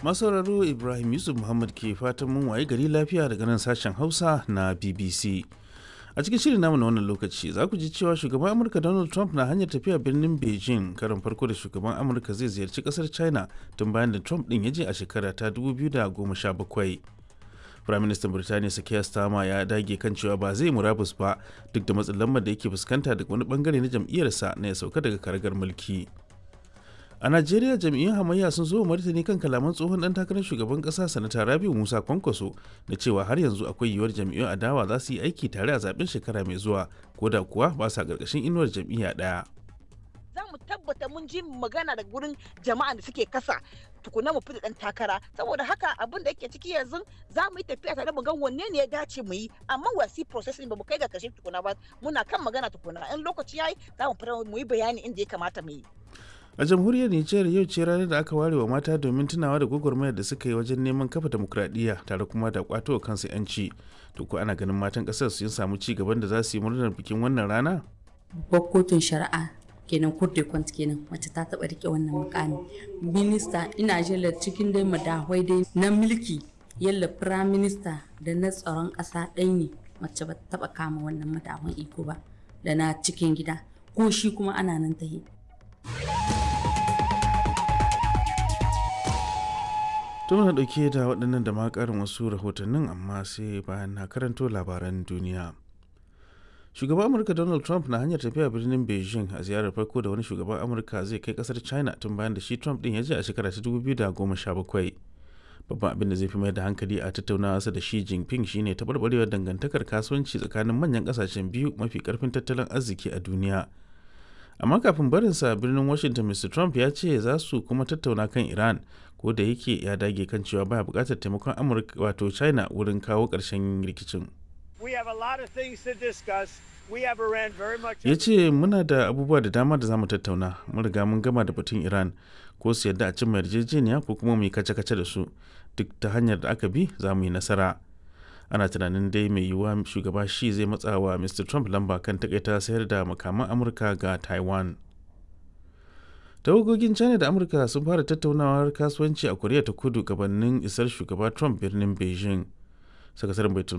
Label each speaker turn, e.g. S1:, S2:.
S1: Masauraro, Ibrahim Yusuf Muhammad ke fatan mun waye gari lafiya daga nan sashen Hausa na BBC. A cikin shirin namu na wannan lokaci za ku ji cewa shugaban Amurka Donald Trump na hanyar tafiya birnin Beijing, karin farko da shugaban Amurka zai ziyarci kasar China tun bayan da Trump din ya je a shekara ta 2017. Firaministan Birtaniya Keir Starmer ya dage kan cewa ba zai murabus ba duk da matsin lambar da yake fuskanta daga wani bangare na jam'iyyarsa na ya sauka daga karagar mulki. A Najeriya, jam'iyyun hamayya sun zo martani kan kalaman tsohon dan takarar shugaban kasa, Sanata Rabiu Musa Kwankwaso, da cewa har yanzu akwai yiwuwar jam'iyyun adawa za su yi aiki tare a zaben shekara mai zuwa, ko da kuwa ba sa karkashin inuwar jam'iyya daya.
S2: Za mu tabbata mun ji magana daga gurin jama'an da suke kasa tukuna mu fita dan takara. Saboda haka abin da yake ciki yanzu, za mu yi tafiya tare mu ga wanne ne ya dace mu yi, amma wasi processing ba mu kai ga kashe tukuna ba. Muna kan magana tukuna. In lokaci yayi, za mu fita mu yi bayani inda ya kamata mu yi.
S1: A jamhuriyar Nijar, yau ce ranar da aka ware wa mata domin tunawa da gwagwarmayar da suka yi wajen neman kafa demokradiyya tare kuma da kwato kansu yanci. To ko ana ganin matan kasar sun samu ci gaban da za su yi murnar bikin wannan rana?
S3: Babbar kotun shari'a kenan, court kwant kenan, wacce ta taba rike wannan mukami, minista, ina jela cikin dai madahwai dai na mulki, yalla prime minister da na tsaron kasa ɗai ne mace ba taba kama wannan madahwan iko ba, da na cikin gida ko shi kuma ana nan tahi.
S1: To muna dauke da waɗannan da ma ƙarin wasu rahotannin, amma sai bayan na karanto labaran duniya. Shugaban Amurka Donald Trump na hanyar tafiya birnin Beijing a ziyarar farko da wani shugaban Amurka zai kai kasar China tun bayan da shi Trump din ya je a shekara ta 2017. Babban abin da zai fi mai da hankali a tattaunawarsa da Xi Jinping shine taɓarɓarewar dangantakar kasuwanci tsakanin manyan ƙasashen biyu mafi ƙarfin tattalin arziki a duniya. Amma kafin barinsa birnin Washington, Mr Trump ya ce za su kuma tattauna kan Iran, ko da yake ya dage kan cewa baya bukatar taimakon Amurka, wato China, wurin kawo ƙarshen rikicin. Ya ce muna da abubuwa da dama da zamu tattauna. Mun riga mun gama da batun Iran. Ko su yadda a cimma yarjejeniya ko kuma mu yi kace-kace da su, duk ta hanyar da aka bi za mu yi nasara. Ana tunanin dai mai yiwuwa shugaba shi zai matsa wa Mr Trump lamba kan takaita sayar da makaman Amurka ga Taiwan. Tawagogin China da Amurka sun fara tattaunawar kasuwanci a Koriya ta Kudu gabanin isar shugaba Trump birnin Beijing. Sakataren baitul